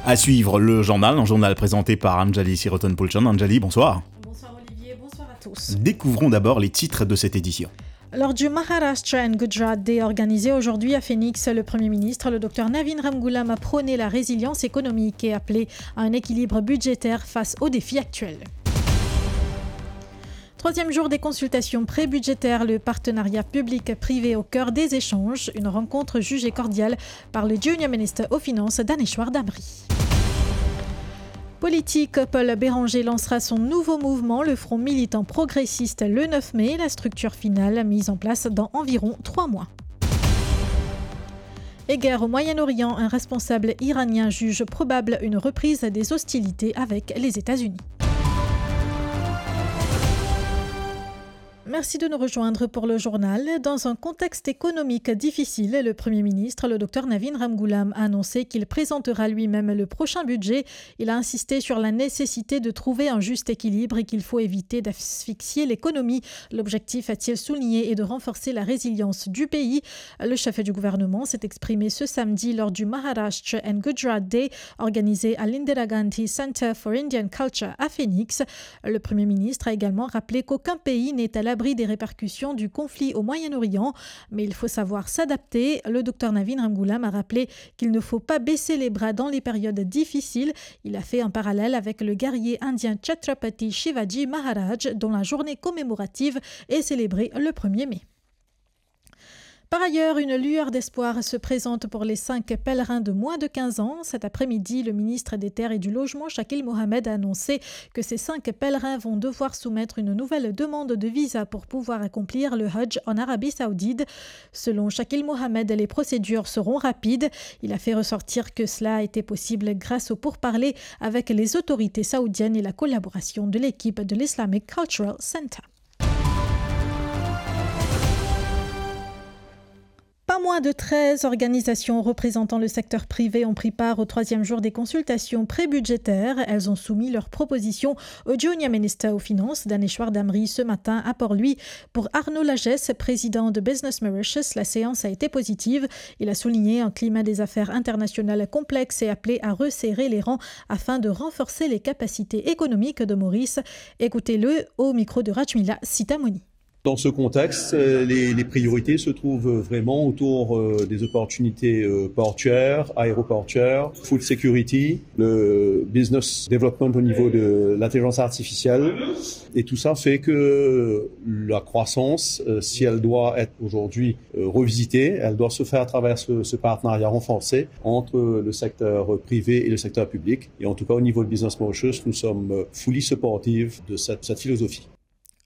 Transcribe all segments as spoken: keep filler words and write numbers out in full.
À suivre le journal, un journal présenté par Anjali Siroton Poulchan. Anjali, bonsoir. Bonsoir Olivier, bonsoir à tous. Découvrons d'abord les titres de cette édition. Lors du Maharashtra and Gujarat Day organisé aujourd'hui à Phoenix, le Premier ministre, le docteur Navin Ramgoolam, a prôné la résilience économique et appelé à un équilibre budgétaire face aux défis actuels. Troisième jour des consultations pré-budgétaires, le partenariat public-privé au cœur des échanges, une rencontre jugée cordiale par le Junior Minister aux Finances, Daneshwar Damri. Politique, Paul Bérenger lancera son nouveau mouvement, le Front militant progressiste, le neuf mai, la structure finale mise en place dans environ trois mois. Et guerre au Moyen-Orient, un responsable iranien juge probable une reprise des hostilités avec les États-Unis. Merci de nous rejoindre pour le journal. Dans un contexte économique difficile, le Premier ministre, le docteur Navin Ramgoolam, a annoncé qu'il présentera lui-même le prochain budget. Il a insisté sur la nécessité de trouver un juste équilibre et qu'il faut éviter d'asphyxier l'économie. L'objectif, a-t-il souligné, est de renforcer la résilience du pays. Le chef du gouvernement s'est exprimé ce samedi lors du Maharashtra and Gujarat Day organisé à l'Indira Gandhi Center for Indian Culture à Phoenix. Le Premier ministre a également rappelé qu'aucun pays n'est à l'abri des répercussions du conflit au Moyen-Orient, mais il faut savoir s'adapter. Le docteur Navin Ramgoolam a rappelé qu'il ne faut pas baisser les bras dans les périodes difficiles. Il a fait un parallèle avec le guerrier indien Chhatrapati Shivaji Maharaj, dont la journée commémorative est célébrée le premier mai. Par ailleurs, une lueur d'espoir se présente pour les cinq pèlerins de moins de quinze ans. Cet après-midi, le ministre des Terres et du Logement, Shakil Mohamed, a annoncé que ces cinq pèlerins vont devoir soumettre une nouvelle demande de visa pour pouvoir accomplir le Hajj en Arabie Saoudite. Selon Shakil Mohamed, les procédures seront rapides. Il a fait ressortir que cela a été possible grâce aux pourparlers avec les autorités saoudiennes et la collaboration de l'équipe de l'Islamic Cultural Center. Pas moins de treize organisations représentant le secteur privé ont pris part au troisième jour des consultations pré-budgétaires. Elles ont soumis leurs propositions au Junior Minister aux Finances, Daneshwar Damri, ce matin à Port-Louis. Pour Arnaud Lagesse, président de Business Mauritius, la séance a été positive. Il a souligné un climat des affaires internationales complexe et appelé à resserrer les rangs afin de renforcer les capacités économiques de Maurice. Écoutez-le au micro de Rajmila Sitamoni. Dans ce contexte, euh, les, les priorités se trouvent vraiment autour, euh, des opportunités, euh, portuaires, aéroportuaires, food security, le business development au niveau de l'intelligence artificielle. Et tout ça fait que la croissance, euh, si elle doit être aujourd'hui, euh, revisitée, elle doit se faire à travers ce, ce partenariat renforcé entre le secteur privé et le secteur public. Et en tout cas, au niveau de Business Mauritius, nous sommes, euh, fully supportive de cette, cette philosophie.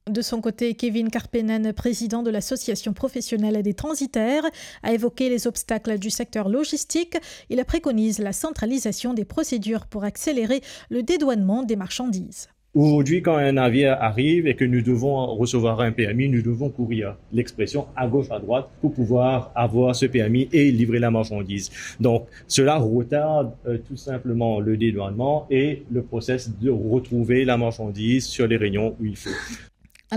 De son côté, Kevin Karpenen, président de l'Association professionnelle des transitaires, a évoqué les obstacles du secteur logistique. Il préconise la centralisation des procédures pour accélérer le dédouanement des marchandises. Aujourd'hui, quand un navire arrive et que nous devons recevoir un permis, nous devons courir, l'expression, à gauche, à droite pour pouvoir avoir ce permis et livrer la marchandise. Donc, cela retarde, euh, tout simplement le dédouanement et le process de retrouver la marchandise sur les rayons où il faut.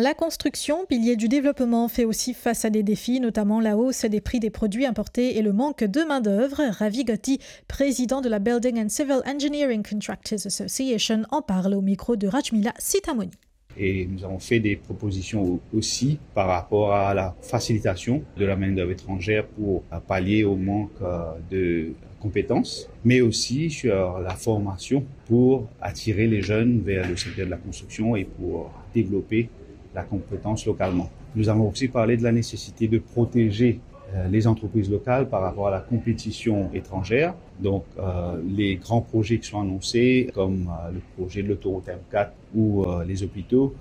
La construction, pilier du développement, fait aussi face à des défis, notamment la hausse des prix des produits importés et le manque de main-d'œuvre. Ravi Gatti, président de la Building and Civil Engineering Contractors Association, en parle au micro de Rajmila Sitamoni. Et nous avons fait des propositions au-, aussi par rapport à la facilitation de la main-d'œuvre étrangère pour, euh, pallier au manque, euh, de compétences, mais aussi sur la formation pour attirer les jeunes vers le secteur de la construction et pour développer la compétence localement. Nous avons aussi parlé de la nécessité de protéger, euh, les entreprises locales par rapport à la compétition étrangère. Donc, euh, les grands projets qui sont annoncés, comme, euh, le projet de l'autoroute M quatre ou, euh, les hôpitaux,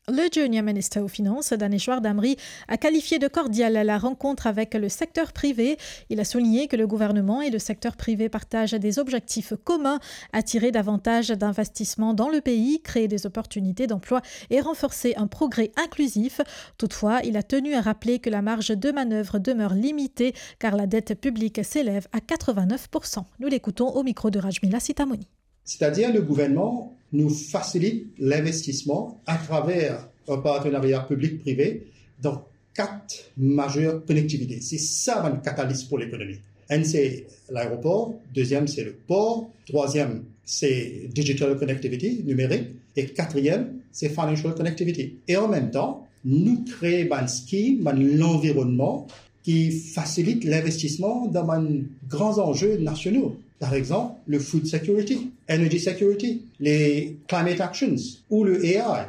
Le Junior Minister aux Finances, Daneshwar Damri, a qualifié de cordiale la rencontre avec le secteur privé. Il a souligné que le gouvernement et le secteur privé partagent des objectifs communs, attirer davantage d'investissements dans le pays, créer des opportunités d'emploi et renforcer un progrès inclusif. Toutefois, il a tenu à rappeler que la marge de manœuvre demeure limitée car la dette publique s'élève à quatre-vingt-neuf pour cent. Nous l'écoutons au micro de Rajmila Sitamoni. C'est-à-dire, le gouvernement nous facilite l'investissement à travers un partenariat public-privé dans quatre majeures connectivités. C'est ça, bann catalyst pour l'économie. Enn, se laeropor, deziem, se lepor, trwaziem, se digital connectivity, nimerik, e katriem, se financial connectivity. E an mem tan, nou kree bann skim, bann lanvironnman ki fasilit linvestisman dan bann gran zanze nasional. Par exanp, le food security, energy security, les climate actions ou le A I.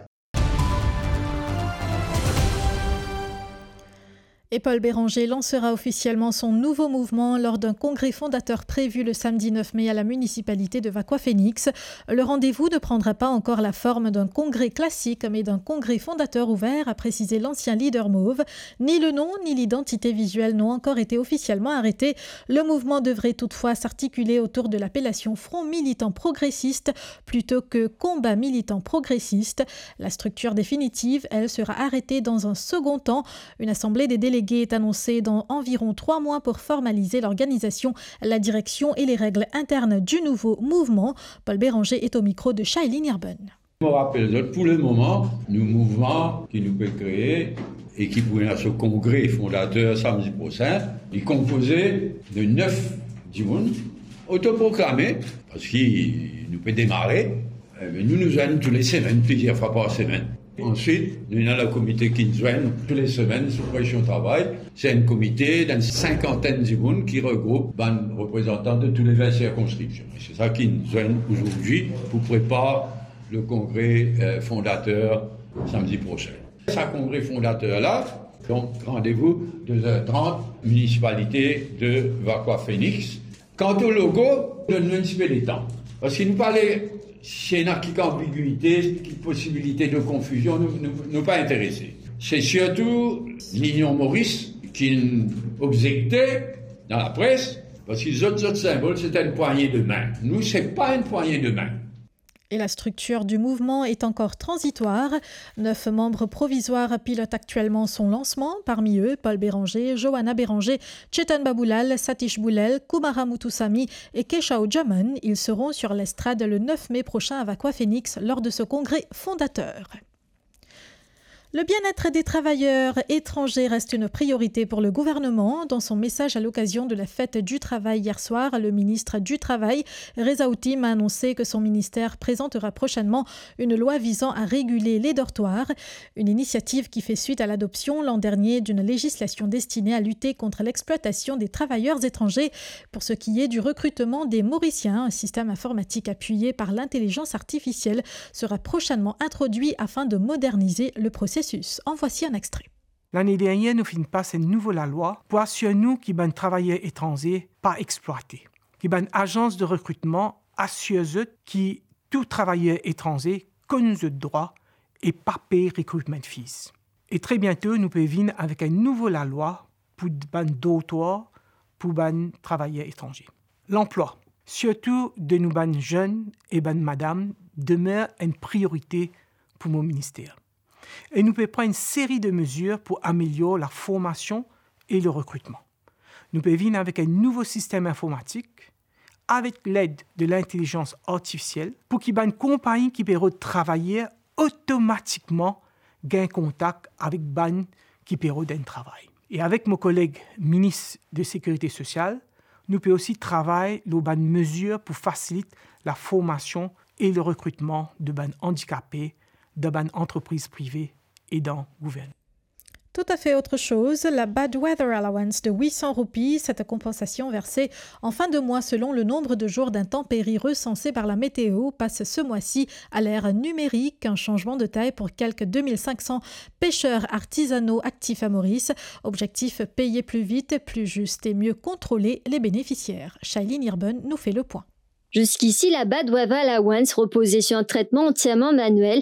Et Paul Bérenger lancera officiellement son nouveau mouvement lors d'un congrès fondateur prévu le samedi neuf mai à la municipalité de Vacoas-Phoenix. Le rendez-vous ne prendra pas encore la forme d'un congrès classique, mais d'un congrès fondateur ouvert, a précisé l'ancien leader mauve. Ni le nom, ni l'identité visuelle n'ont encore été officiellement arrêtés. Le mouvement devrait toutefois s'articuler autour de l'appellation Front Militant Progressiste plutôt que Combat Militant Progressiste. La structure définitive, elle, sera arrêtée dans un second temps. Une assemblée des délégués est annoncée dans environ trois mois pour formaliser l'organisation, la direction et les règles internes du nouveau mouvement. Paul Bérenger est au micro de Shailene Irben. Mo rapel zot, pou lemoman, nou mouvman ki nou pe kree e ki pou ena so kongre fondater samdi prosin, li konpoze de nef dimoun otoproklame, parski nou pe demare, eh ben, nou, nou zwenn tou le semenn, plizier fwa par semenn. Answit, nou ena le komite ki zwenn tou le semenn sou presion travay. Se enn komite d'enn sinkantenn dimoun ki regroup bann reprezantan de tou le vin sirkonskripsion. E se sa ki zwenn azordi pou prepar le kongre, eh, fondater samdi prosin. Sa kongre fondater la, donk, randevou de zet trant, minisipalite de Vacoas-Phoenix. Kant o logo, donn nou enn tipe letan. Parski nou pa le, si ena kik anbigwite, kik posibilite de konfizion, nou, nou, nou pa interese. Se sirtou Linion Moris ki'nn obzekte dan lapres, parski zot, zot sinbol, se enn pwagne de min. Nou, se pa enn pwagne de min. Et la structure du mouvement est encore transitoire. Neuf membres provisoires pilotent actuellement son lancement, parmi eux Paul Bérenger, Johanna Bérenger, Chetan Baboulal, Satish Boulel, Kumara Muthusamy et Keshau Jaman. Ils seront sur l'estrade le neuf mai prochain à Vacoas-Phoenix lors de ce congrès fondateur. Le bien-être des travailleurs étrangers reste une priorité pour le gouvernement. Dans son message à l'occasion de la fête du travail hier soir, le ministre du Travail, Reza Ottim, a annoncé que son ministère présentera prochainement une loi visant à réguler les dortoirs. Une initiative qui fait suite à l'adoption l'an dernier d'une législation destinée à lutter contre l'exploitation des travailleurs étrangers. Pour ce qui est du recrutement des Mauriciens, un système informatique appuyé par l'intelligence artificielle sera prochainement introduit afin de moderniser le processus. En voici un extrait. Lane dernier, nou finn pas enn nouvo lalwa pou asir nou ki bann travayer etranze pa explwate, ki bann azans de rekritman asir zot ki tou travayer etranze konn zot drwa e pa pey recruitment fees. E tre biento, nou pe vinn avek enn nouvo lalwa pou bann dortoir pou bann travayer etranze. Lanplwa, sirtou de nou bann zenn e bann madam, demer enn priorite pou mo minister. E nou pe pran enn seri de mezir pou amelior laformasion e le rekritman. Nou pe vinn avek enn nouvo sistem informatik, avek led de lintelizans artifisiel, pou ki bann konpagni ki pe rod travayer otomatikman gagn kontak avek bann ki pe rod enn travay. E avek mo koleg minis de Sekirite Sosial, nou pe osi travay lor bann mezir pou fasilit laformasion e le rekritman de bann andikape dan bann antrepriz prive e dan gouvernman. Tout à fait autre chose, la Bad Weather Allowance de huit cents roupies, cette compensation versée en fin de mois selon le nombre de jours d'intempéries recensées par la météo, passe ce mois-ci à l'ère numérique, un changement de taille pour quelques deux mille cinq cents pêcheurs artisanaux actifs à Maurice. Objectif, payer plus vite, plus juste et mieux contrôler les bénéficiaires. Shailene Irben nous fait le point. Jusqu'ici, la Bad Weather Allowance reposait sur un traitement entièrement manuel